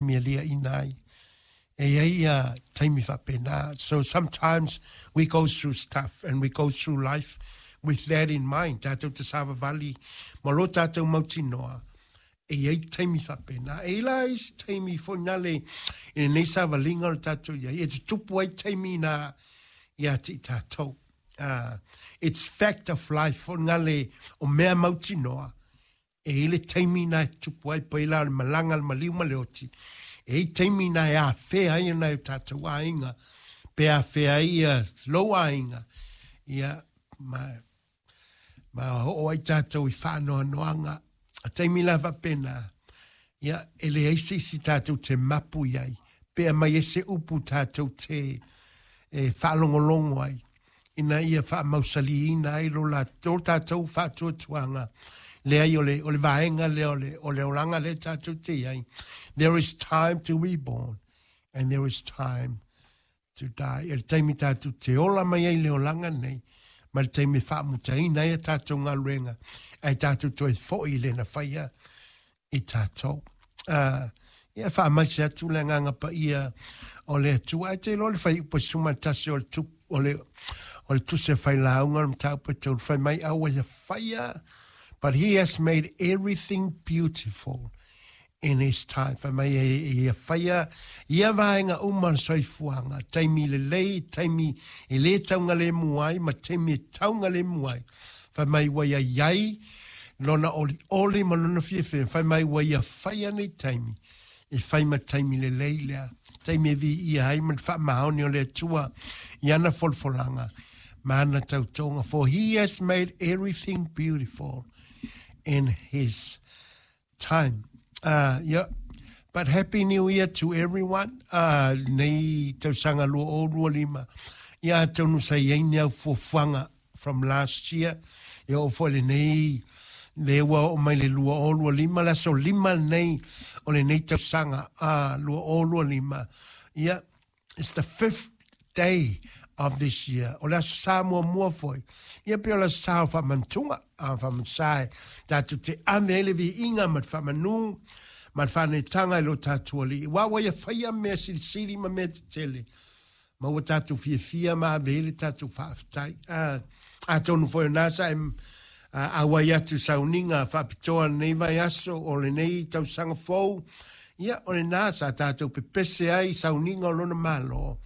taimi e liaʻina ai. E i ai ia taimi faapena. So sometimes we go through stuff and we go through life with that in mind. Tātou te savavali ma lo tātou mautinoa, e i ai taimi faapena. E i la isi taimi foi nale i lenei savaliga o le tātou i ai, e tutupu ai taimi nā ia te i tātou. It's fact of life foi nale o mea mautinoa, E i le taimi na e tupu ai pēlā o le malaga, le maliu ma le oti, e i taimi na e afea ai nai o tātou aiga, pe afea ai ia lou aiga, ia, ma, ma oo ai tātou i whaanoanoanga. A taimi la faapena, ia, e leai se isi tātou te mapu i ai, pe aumai ai se upu tātou te e whaalongolongo ai, ina ia faamausaliina ai lo lo tātou faatuatuaga, leai o le, o le vaega lea o le, o le olaga lea tātou te i ai. There is time to be born and there is time to die. E le taimi tātou te ola mai ai le olaga nei, ma le taimi e faamutaina ai a tātou galuega, ae tātou toe foi i lena whaia i tātou. Uh, ia whaamaise atu le agaga paia o le Atua. Ai te iloa le whaiupu e suma tasi o le, tup, o le, o le tusi a whailāunga o le mataupu e tauru whai mai aua ia whaia, but he has made everything beautiful in his time. Whai mai e, e ia whaia, ia vaenga uma o le soifuaga, taimi lelei, taimi e lē taugalemu ai, ma taimi e taugalemu ai. Whai mai ua ia iai, lona olioli ma lona fiafia, whai mai ua ia whai nei taimi, e whai ma taimi lelei lea, taimi e viia ai ma le faamaoni o le Atua i ana folafolaga ma ana tautoga, for he has made everything beautiful in his time. Yeah. But happy new year to everyone. Nei tausaga 2025. Ia atonu sa i ai ni au fuafuaga from last year. Ia oo foi lenei le ua oo mai le 2025, le aso lima lenei o lenei tausaga 2025. Ia, It's the fifth day of this year. O le aso sa muamua foi. Ia pei o le aso sa o faamantuga, a faamantu e tātou te ave ai le viiga ma le faamanū ma le faanetaga i lo tātou Alii. Aua ua ia whaia mea silisili ma mea tetele. Ma ua tātou fiafia ma ave ai le tātou faafetai. Atonu foi o nā sa e auai atu sauniga faapitoa lenei vaiaso o lenei tausaga fou, ia, o lenā sa tātou pepese ai i sauniga o lona Malo,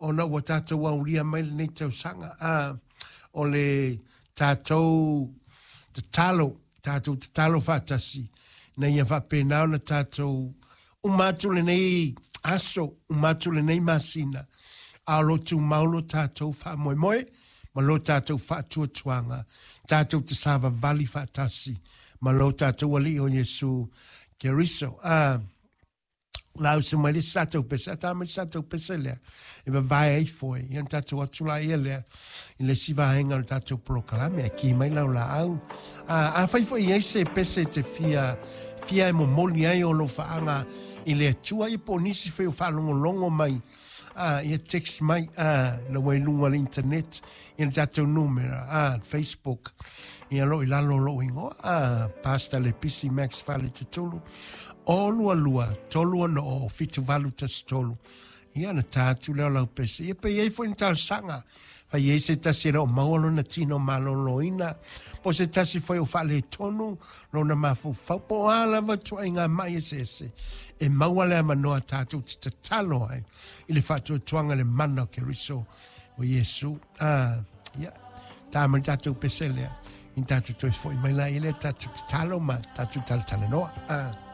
ona ua tātou aulia mai lenei tausaga, ā, o le tātou tatalo, tātou tatalo faatasi, ina ia faapena ona tātou uma atu lenei aso, uma atu lenei masina, a o lo o tumau lo tātou faamoemoe, ma lo tātou faatuatuaga, tātou te savavali faatasi ma lo tātou Alii o Iesu Keriso. Ā, la usu mai le isi tātou pese, a tā mai se tātou pese lea, e vavae ai foe, ia na tātou atu la ia lea, i le isi vaega o le tātou polokalame, a kī mai lau laau. Ā, afai foi i ai se pese te fia, fia e momoli ai o lou faaga i le Atua, ia po o nisi foi o faalogologo mai, ā, ia text mai, ā, la ua i luga o le internet, ia le tātou numera, ā, Facebook, ia lo i lalo o lou ingoa, ā, Pastor Lepisi Max Faletutulu, o lua lua, tolu ono o, whitu valu tasi tolu, ia na tā atu lea o lau pese, ia pe i ai foi ni talosaga, Fai i ai se tasi e le o maua lona tino malōlōina, po o se tasi foi o faaletonu lona mafaufau, po o a lava ituaiga maʻi eseese, e maua le avanoa tātou te tatalo ai i le faatuatuaga i le mana o Keriso o Iesu. Ah, ia, tā mai tātou pese lea, i tātou toe foi mai la i lea tātou tatalo ma tātou talatalanoa. Ah.